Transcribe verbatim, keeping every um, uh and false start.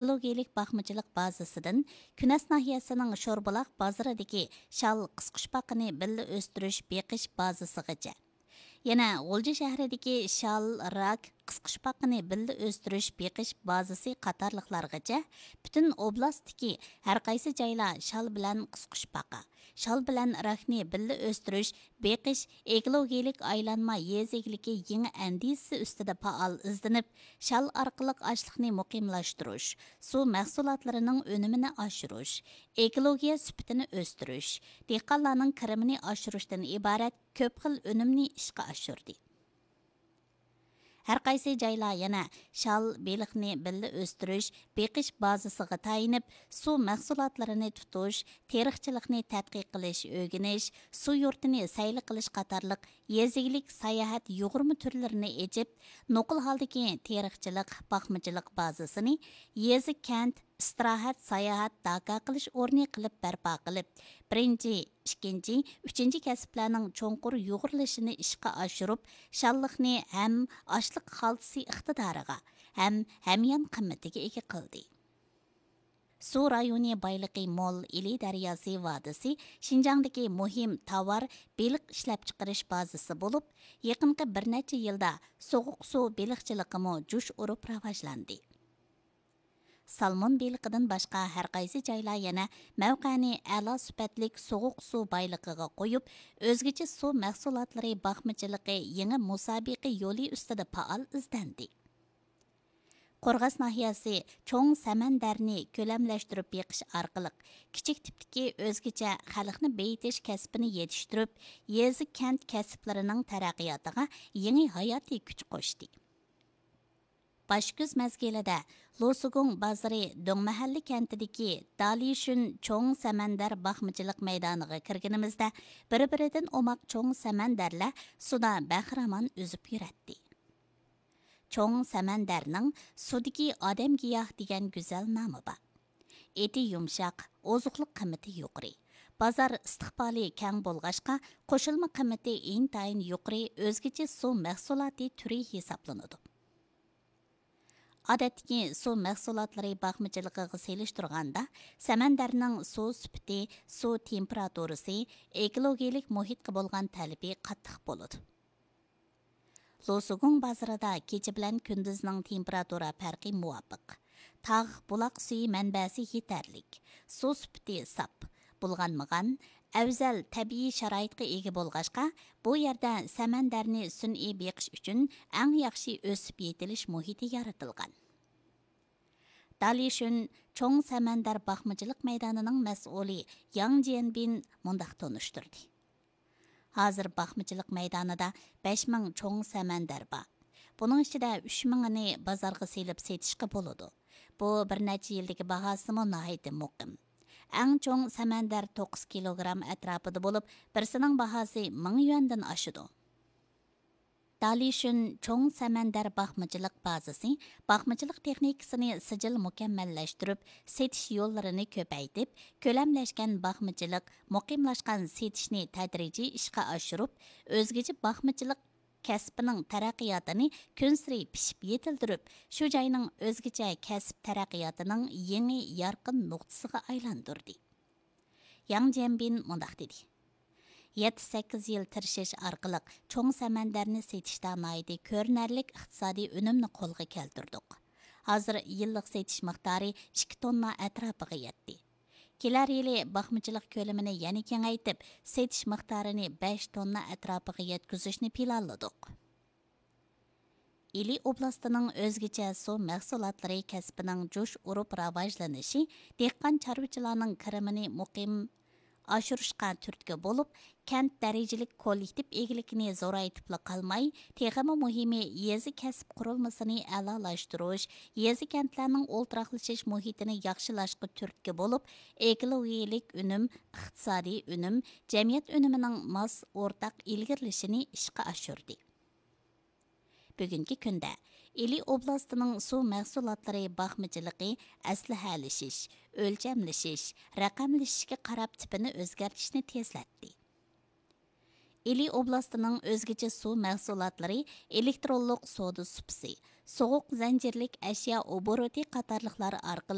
ئېكولوگىيەلىك باقمىچىلىق بازىسىدىن كۈنەس ناھىيەسىنىڭ شوربۇلاق بازىرىدىكى شال قىسقۇچپاقىنى بىللە ئۆستۈرۈش بېقىش بازىسىغىچە، يەنە غۇلجا شەھىرىدىكى شال، راك، قىسقۇچپاقىنى بىللە ئۆستۈرۈش بېقىش بازىسى قاتارلىقلارغىچە پۈتۈن ئوبلاستتىكى ھەرقايسى جايلار شال بىلەن قىسقۇچپاقا، شال بىلەن راكنى بىللە ئۆستۈرۈش، بېقىش، ئېكولوگىيەلىك ئايلانما يېزا ئىگىلىكى يېڭى ئەندىزىسى ئۈستىدە پائال ئىزدىنىپ، شال ئارقىلىق ئاشلىقنى مۇقىملاشتۇرۇش، سۇ مەھسۇلاتلىرىنىڭ ئۈنۈمىنى ئاشۇرۇش، ئېكولوگىيە سۈپىتىنى ئۆستۈرۈش، دېھقانلارنىڭ كىرىمىنى ئاشۇرۇشتىن ئىبارەت كۆپ خىل ئۈنۈمنى ئىشقا ئاشۇردى. ھەرقايسى جايلار يەنە شال، بېلىقنى بىللە ئۆستۈرۈش، بېقىش بازىسىغا تايىنىپ، سۇ مەھسۇلاتلىرىنى تۇتۇش، تېرىقچىلىقنى تەتقىق قىلىش، ئۆگىنىش، سۇ يۇرتىنى سەيلە قىلىش قاتارلىق يېزا ئىگىلىك ساياھەت يۇغۇرما تۈرلىرىنى ئېچىپ، نوقۇل ھالدىكى تېرىقچىلىق، باقمىچىلىق بازىسىنى يېزا، كەنت، ئىستىراھەت، ساياھەت، داكا قىلىش ئورنى قىلىپ بەرپا قىلىپ، بىرىنچى، ئىككىنچى، ئۈچىنچى كەسىپلەرنىڭ چوڭقۇر يۇغۇرۇلۇشىنى ئىشقا ئاشۇرۇپ، شاللىقنى ھەم ئاشلىق خالتىسى ئىقتىدارىغا، ھەم ھەميان قىممىتىگە ئىگە قىلدى. سۇ رايونى بايلىقى مول ئىلى دەرياسى ۋادىسى شىنجاڭدىكى مۇھىم تاۋار بېلىق ئىشلەپچىقىرىش بازىسى بولۇپ، يېقىنقى بىر نەچچە يىلدا سوغۇق سۇ بېلىقچىلىقىمۇ جۇش ئۇرۇپ راۋاجلاندى. سالمون بېلىقىدىن باشقا، ھەرقايسى جايلار يەنە مەۋقەنى ئەلا سۈپەتلىك سوغۇق سۇ بايلىقىغا قويۇپ، ئۆزگىچە سۇ مەھسۇلاتلىرى باقمىچىلىقى يېڭى مۇسابىقە يولى ئۈستىدە پائال ئىزدەندى. قورغاس ناھىيەسى چوڭ سەمەندەرنى كۆلەملەشتۈرۈپ بېقىش ئارقىلىق، كىچىك تىپتىكى ئۆزگىچە خەلقنى بېيىتىش كەسپىنى يېتىشتۈرۈپ، يېزا، كەنت كەسىپلىرىنىڭ تەرەققىياتىغا يېڭى ھاياتىي كۈچ قوشتى. باش كۈز مەزگىلىدە لوسۇگۇڭ بازىرى دۆڭمەھەللە كەنتىدىكى دالىشۈن چوڭ سەمەندەر باقمىچىلىق مەيدانىغا كىرگىنىمىزدە، بىر-بىرىدىن ئوماق چوڭ سەمەندەرلەر سۇدا بەخىرامان ئۈزۈپ يۈرەتتى. چوڭ سەمەندەرنىڭ سۇدىكى ئادەمگىياھ دېگەن گۈزەل نامى بار. ئېتى يۇمشاق، ئوزۇقلۇق قىممىتى يۇقىرى. بازار ئىستىقبالى كەڭ بولغاچقا، قوشۇلما قىممىتى ئىنتايىن يۇقىرى ئۆزگىچە سۇ مەھسۇلاتى تۈرى ھېسابلىنىدۇ. ئادەتتىكى سۇ مەھسۇلاتلىرى باقمىچىلىقىغا سېلىشتۇرغاندا، سەمەندەرنىڭ سۇ سۈپىتى، سۇ تېمپېراتۇرىسى، ئېكولوگىيەلىك مۇھىتقا بولغان تەلىپى قاتتىق بولىدۇ. لوسۇگۇڭ بازىرىدا كېچە بىلەن كۈندۈزنىڭ تېمپېراتۇرا پەرقى مۇۋاپىق. تاغ، بۇلاق سۈيى مەنبەسى يېتەرلىك. سۇ سۈپىتى ساپ، بۇلغانمىغان، ئەۋزەل تەبىئىي شارائىتقا ئىگە بولغاچقا، بۇ يەردە سەمەندەرنى سۈنئىي بېقىش ئۈچۈن ئەڭ ياخشى ئۆسۈپ يېتىلىش مۇھىتى يارىتىلغان. دالىشۈن چوڭ سەمەندەر باقمىچىلىق مەيدانىنىڭ مەسئۇلى ياڭ جيەنبىن مۇنداق تونۇشتۇردى. ھازىر باقمىچىلىق مەيدانىدا بەش مىڭ چوڭ سەمەندەر بار. بۇنىڭ ئىچىدە ئۈچ مىڭىنى بازارغا سېلىپ سېتىشقا بولىدۇ. بۇ بىر نەچچە يىلدىكى باھاسىمۇ ناھايىتى مۇقىم. ئەڭ چوڭ سەمەندەر توققۇز كىلوگرام ئەتراپىدا بولۇپ، بىرسىنىڭ باھاسى مىڭ يۈەندىن ئاشىدۇ. دالىشۈن چوڭ سەمەندەر باقمىچىلىق بازىسى باقمىچىلىق تېخنىكىسىنى سىجىل مۇكەممەللەشتۈرۈپ، سېتىش يوللىرىنى كۆپەيتىپ، كۆلەملەشكەن باقمىچىلىق، مۇقىملاشقان سېتىشنى تەدرىجىي ئىشقا ئاشۇرۇپ، ئۆزگىچە باقمىچىلىق كەسپىنىڭ تەرەققىياتىنى كۈنسېرى پىشىپ يېتىلدۈرۈپ، شۇ جاينىڭ ئۆزگىچە كەسىپ تەرەققىياتىنىڭ يېڭى يارقىن نۇقتىسىغا ئايلاندۇردى. ياڭ جيەنبىن مۇنداق دېدى: يەتتە، سەككىز يىل تىرىشىش ئارقىلىق چوڭ سەمەندەرنى سېتىشتا ناھايىتى كۆرۈنەرلىك ئىقتىسادىي ئۈنۈمنى قولغا كەلتۈردۇق. ھازىر يىللىق سېتىش مىقدارى ئىككى توننا ئەتراپىغا يەتتى. كېلەر يىلى باقمىچىلىق كۆلىمىنى يەنە كېڭەيتىپ، سېتىش مىقدارىنى بەش توننا ئەتراپىغا يەتكۈزۈشنى پىلانلىدۇق. ئىلى ئوبلاستىنىڭ ئۆزگىچە سۇ مەھسۇلاتلىرى كەسپىنىڭ جۇش ئۇرۇپ راۋاجلىنىشى دېھقان چارۋىچىلارنىڭ كىرىمىنى مۇقىم ئاشۇرۇشقا تۈرتكە بولۇپ، كەنت دەرىجىلىك كوللېكتىپ ئىگىلىكىنى زورايتىپلا قالماي، تېخىمۇ مۇھىمى يېزا كەسىپ قۇرۇلمىسىنى ئەلالاشتۇرۇش، يېزا كەنتلەرنىڭ ئولتۇراقلىشىش مۇھىتىنى ياخشىلاشقا تۈرتكە بولۇپ، ئېكولوگىيىلىك ئۈنۈم، ئىقتىسادىي ئۈنۈم، جەمئىيەت ئۈنۈمىنىڭ ماس ئورتاق ئىلگىرىلىشىنى ئىشقا ئاشۇردى. بۈگۈنكى كۈندە ئىلى ئوبلاستىنىڭ سۇ مەھسۇلاتلىرى باقمىچىلىقى ئەسلىھەلىشىش، ئۆلچەملىشىش، رەقەملىشىشكە قاراپ تىپىنى ئۆزگەرتىشنى تېزلەتتى. ئىلى ئوبلاستىنىڭ ئۆزگىچە سۇ مەھسۇلاتلىرى ئېلېكترونلۇق سودا سۇپىسى، سوغۇق زەنجىرلىك ئەشيا ئوبوروتى قاتارلىقلار ئارقىلىق